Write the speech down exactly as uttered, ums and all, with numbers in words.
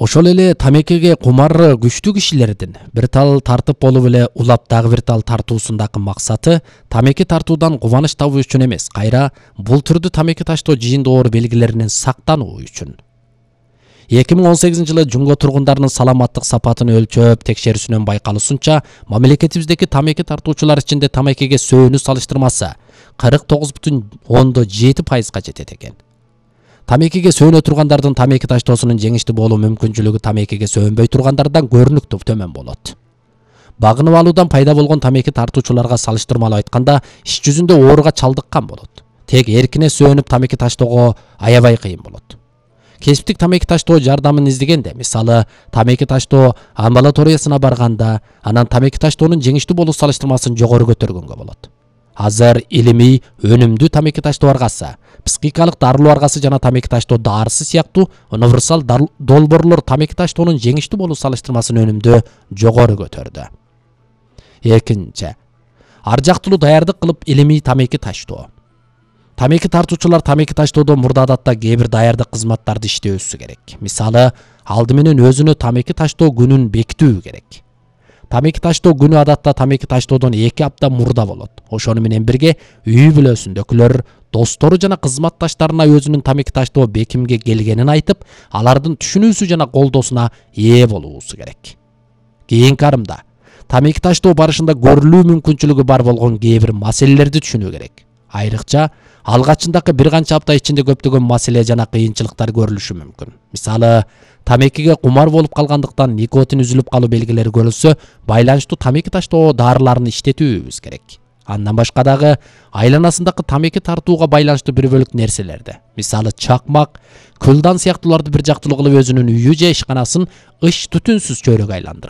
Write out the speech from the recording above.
Ошол эле тамекиге кумар күчтүү кишилердин бир тал тартып болуп эле улап дагы бир тал тартуусундагы максаты тамеки тартуудан кубаныч табуу үчүн эмес, кайра бул түрдүү тамеки таштоо жийиндоор белгилеринен сактануу үчүн. эки миң он сегизинчи жылы Жумго тургундарынын саламаттык сапатын өлчөп текшерүүсүнөн байкалуусунча, мамлекетибиздеги тамеки тартуучулар ичинде тамекиге сөөнүү салыштырмасы кырк тогуз бүтүн ондон жети пайызга жетет экен. Тамекиге сөөнө тургандардын тамеки таштоосунун жеңиштүү болуу мүмкүнчүлүгү тамекиге сөөнбөй тургандардан көрүнүктүү төмөн болот. Багынып алуудан пайда болгон тамеки тартуучуларга салыштырмалуу айтканда, иш жүзүндө ооруга чалдыккан болот. Тек эркине сөөнүп тамеки таштоого аябай кыйын болот. Кесиптик тамеки таштоо жардамын издегенде, мисалы, тамеки таштоо амбулаториясына барганда, анан тамеки таштоонун жеңиштүү болуу салыштырмасын жогору көтөргөнгө болот. Азыр илимий, өнүмдүү тамеки таштоо аргасы, психикалык дарылоо аргасы жана тамеки таштоо дарысы сыяктуу универсал долбоорлор тамеки таштоонун жеңиштүү болуу салыштырмасын өнүмдү жогору көтөрдү. Экинчи, ар жактылуу даярдык кылып илимий тамеки таштоо. Тамеки тартуучулар тамеки таштоодо мурда адатта кээ бир даярдык кызматтарды иштөөсү керек. Мисалы, алды менен өзүнө тамеки таштоо күнүн бекитүү керек. Тамеки таштоо күнү адатта тамеки таштоодон эки апта мурда болот. Ошону менен бирге үй бүлөсүндөгүлөр, достору жана кызматташтарына өзүнүн тамеки таштоо бекимге келгенин айтып, алардын түшүнүүсү жана колдоосуна ээ болуусу керек. Кийинки арымда тамеки таштоо барышында көрүлүү мүмкүнчүлүгү бар болгон кээ бир маселелерди түшүнүү керек. Айрыкча, алгачындагы бир канча апта ичинде көптөгөн маселе жана кыйынчылыктар көрүлүшү мүмкүн. Мисалы, тамекиге кумар болуп калгандыктан никотин үзүлүп калуу белгилери көрүлсө, байланыштуу тамеки таштоо дарыларын иштетүүбүз керек. Андан башка дагы айланасындагы тамеки тартууга байланыштуу бир бөлүк нерселерди, мисалы чакмак, кылдан сыяктууларды бир жактылуу кылып өзүнүн үйү же ишканасын ыш түтүнсүз чөйрөгө айландырып,